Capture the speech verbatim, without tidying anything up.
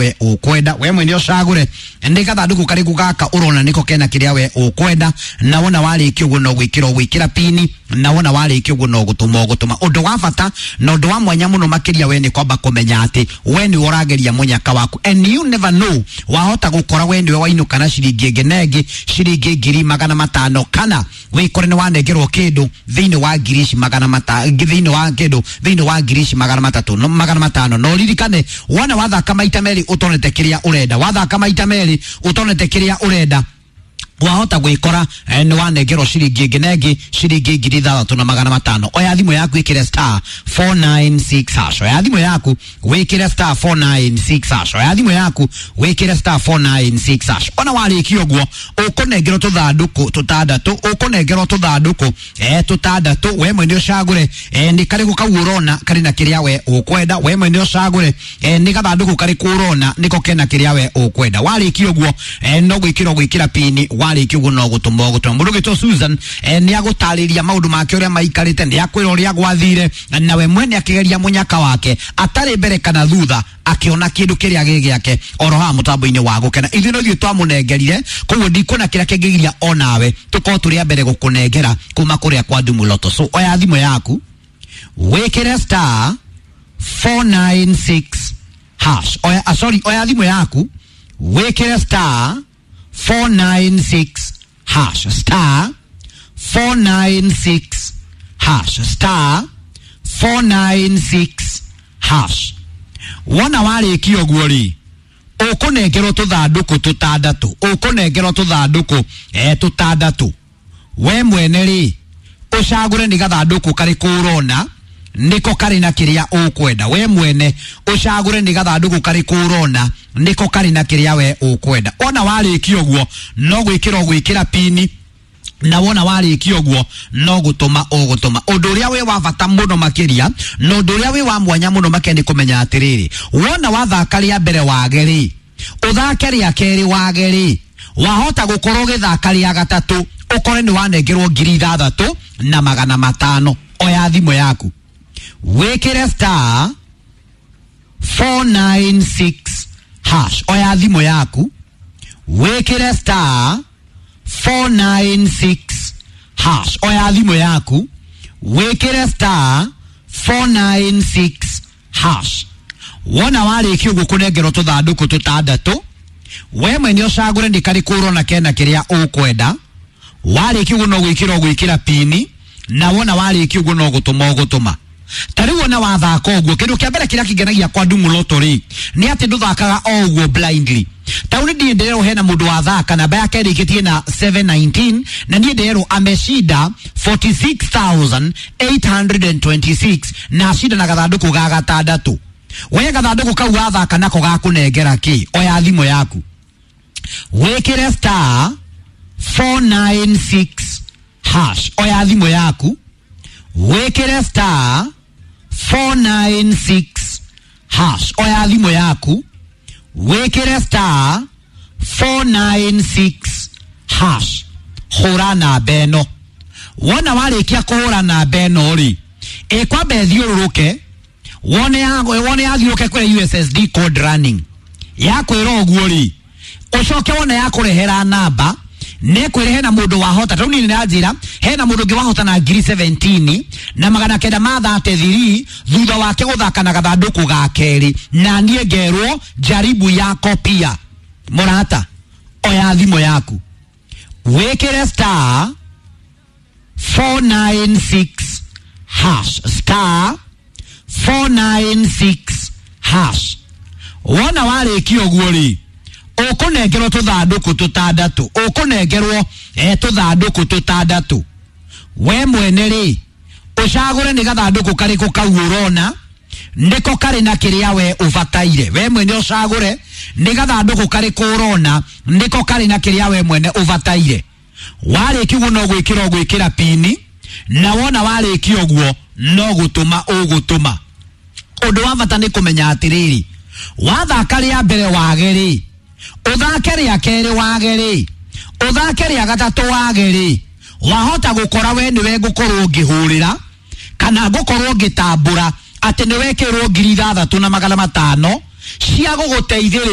we ũkwenda. We mwene ũcagũre nĩ gathandũkũ karĩkũ gaka ũrona nĩko kena kĩrĩa we ũkwenda, na wona warĩkia ũguo no gwĩkĩra ũgwĩkĩra pini, na wona warĩkia ũguo no gũtũma ũgũtũma. Ũndũ wa bata na ũndũ wa mwanya mũno makĩria we nĩ kwamba kũmenya atĩ we nĩwe ũrageria mũnyaka waku, and you never know, wahota gũkora we nĩwe wainũka na ciringi ĩngĩ na ĩngĩ, ciringi ngiri magana matano, kana wĩkore nĩ wanengerwo kĩndũ thĩinĩ wa ngiri ici magana mata thĩinĩ wa kĩndũ thĩinĩ wa ngiri ici magana matatũ no magana matano. No ririkane wona wathaka maita merĩ ũtonete kĩrĩa ũrenda, wathaka maita merĩ ũtonete kĩrĩa ũrenda, wahota gwikora eh, nĩ wanengerwo ciringi ĩngĩ na ĩngĩ ciringi ngiri ithathatũ na magana matano. Oya thimũ yaku ĩkĩre star four nine six hash. Oya thimũ yaku wĩkĩre star four nine six hash. Oya thimũ yaku wĩkĩre star four nine six hash. Ona warĩkia ũguo ũkũnengerwo tũthandũkũ tũtandatũ, ũkũnengerwo tũthandũkũ eh, tũtandatũ. We mwene ũcagũre eh, nĩ karĩkũ kau ũrona karĩ na kĩrĩa we ũkwenda. We mwene ũcagũre eh, nĩ gathandũkũ karĩkũ ũrona nĩko kena kĩrĩa we ũkwenda. Warĩkia ũguo eh, no gwĩkĩra ũgwĩkĩra pini, warĩkia ũguo no gũtũma ũgũtũma. Mũndũ ũgĩtwo Susan eh, nĩ agũtarĩria maũndũ make ũrĩa maikarĩte, nĩ akwĩra ũrĩa gwathire, na we mwene akĩgeria mũnyaka wake atarĩ mbere kana thutha, akĩona kĩndũ kĩrĩa gĩ gĩake oro haha mũtambo-inĩ wa gũkena. Ithuĩ no ithuĩ twamũnengerire, koguo ndikuona kĩrĩa kĩngĩgiria onawe tũkorwo tũrĩ a mbere gũkũnengera kuma kũrĩa kwa Ndumu Lotto. So oya thimũ yaku wĩkĩre star four nine six hash. Oya, ah, sorry, oya thimũ yaku wĩkĩre star four nine six hash, star four nine six hash, star four nine six hash. Wona warĩkia ũguo rĩ, ũkũnengerwo tũthandũkũ tũtandatũ, ũkũnengerwo tũthandũkũ eh, tũtandatũ. We mwene rĩ, ũcagũre nĩ gathandũkũ karĩkũ ũrona nĩko karĩ na kĩrĩa ũkwenda. We mwene ũcagũre nĩ gathandũkũ karĩkũ ũrona nĩko karĩ na kĩrĩa we ũkwenda. Wona warĩkia ũguo no gwĩkĩra ũgwĩkĩra pini, na wona warĩkia ũguo no gũtũma ũgũtũma. Ũndũ ũrĩa wĩ wa bata mũno makĩria na ũndũ ũrĩa wĩ wa mwanya mũno makĩria nĩ kũmenya atĩrĩrĩ, wona wathaka rĩa mbere wage rĩ, ũthake rĩa kerĩ wage rĩ, wahota gũkorwo ũgĩthaka rĩa gatatũ ũkore nĩ wanengerwo ngiri ithathatũ na magana matano. Oya thimũ yaku wĩkĩre star four nine six hash. Oya thimũ yaku wĩkĩre star four nine six hash. Oya thimũ yaku wĩkĩre star four nine six hash. Wona warĩkia ũguo kũnengerwo tũthandũkũ tũtandatũ, we mwene ũcagũre nĩ karĩkũ ũrona kena kĩrĩa ũkwenda. Warĩkia ũguo no gwĩkĩra ũgwĩkĩra pini, na wona warĩkia ũguo no gũtũma ũgũtũma. Ta rĩu wona wathaka ũguo, kĩndũ kĩa mbere kĩrĩa kĩngenagia kwa Ndumu Lotto rĩ, nĩ atĩ ndũthakaga o ũguo blindly. Ta rĩu niĩ ndĩrerwo hena mũndũ wathaka namba yake ĩrĩkĩtie na seven nineteen, na niĩ ndĩrerwo ameshinda forty-six thousand eight hundred and twenty-six, na acinda na gathandũkũ ga gatandatũ. We gathandũkũ kau wathaka nako gakũnengera kĩ? Oya thimũ yaku wĩkĩre star four nine six hash. Oya thimũ yaku wĩkĩre star four nine six hash. Oya thimũ yaku wĩkĩre star four nine six hash. Hũra namba ĩno. Wona warĩkia kũhũra namba ĩno rĩ, ĩkwamba ĩthiũrũrũke, wone ya, wone yathiũrũke kũrĩ U S S D code running. Yakwĩra ũguo rĩ, ũcoke wone yakũrehera namba, nĩkwĩre hena mũndũ wahota. Tondũ niĩ nĩndanjĩra hena mũndũ ũngĩ wahota na ngiri seventeen na magana kenda ma thirty-three thutha wake gũthaka na gathandũkũ ga kerĩ, na niĩ ngerwo jaribu yako pia. Mũrata, oya thimũ yaku wĩkĩre star four nine six hash, star four nine six hash. Wona warĩkia ũguo rĩ, ũkũnengerwo tũthandũkũ tũtandatũ, ũkũnengerwo eh, tũthandũkũ tũtandatũ. We mwene rĩ, ũcagũre nĩ gathandũkũ karĩkũ kau ũrona nĩko karĩ na kĩrĩa we ũbataire. We mwene ũcagũre nĩ gathandũkũ karĩkũ ũrona nĩko karĩ na kĩrĩa we mwene ũbataire. Warĩkia ũguo no gwĩkĩra ũgwĩkĩra pini, na wona warĩkia ũguo no gũtũma ũgũtũma. Ũndũ wa bata nĩ kũmenya atĩrĩrĩ, wathaka rĩa mbere wage rĩ, ũthake rĩa kerĩ wage rĩ, ũthake rĩa gatatũ wage rĩ, wahota gũkora we nĩwe ngũkorwo ngĩhũrĩra kana ngũkorwo ngĩtambũra atĩ nĩwekĩrwo ngiri ithathatũ na magana matano cia gũgũteithĩrĩria.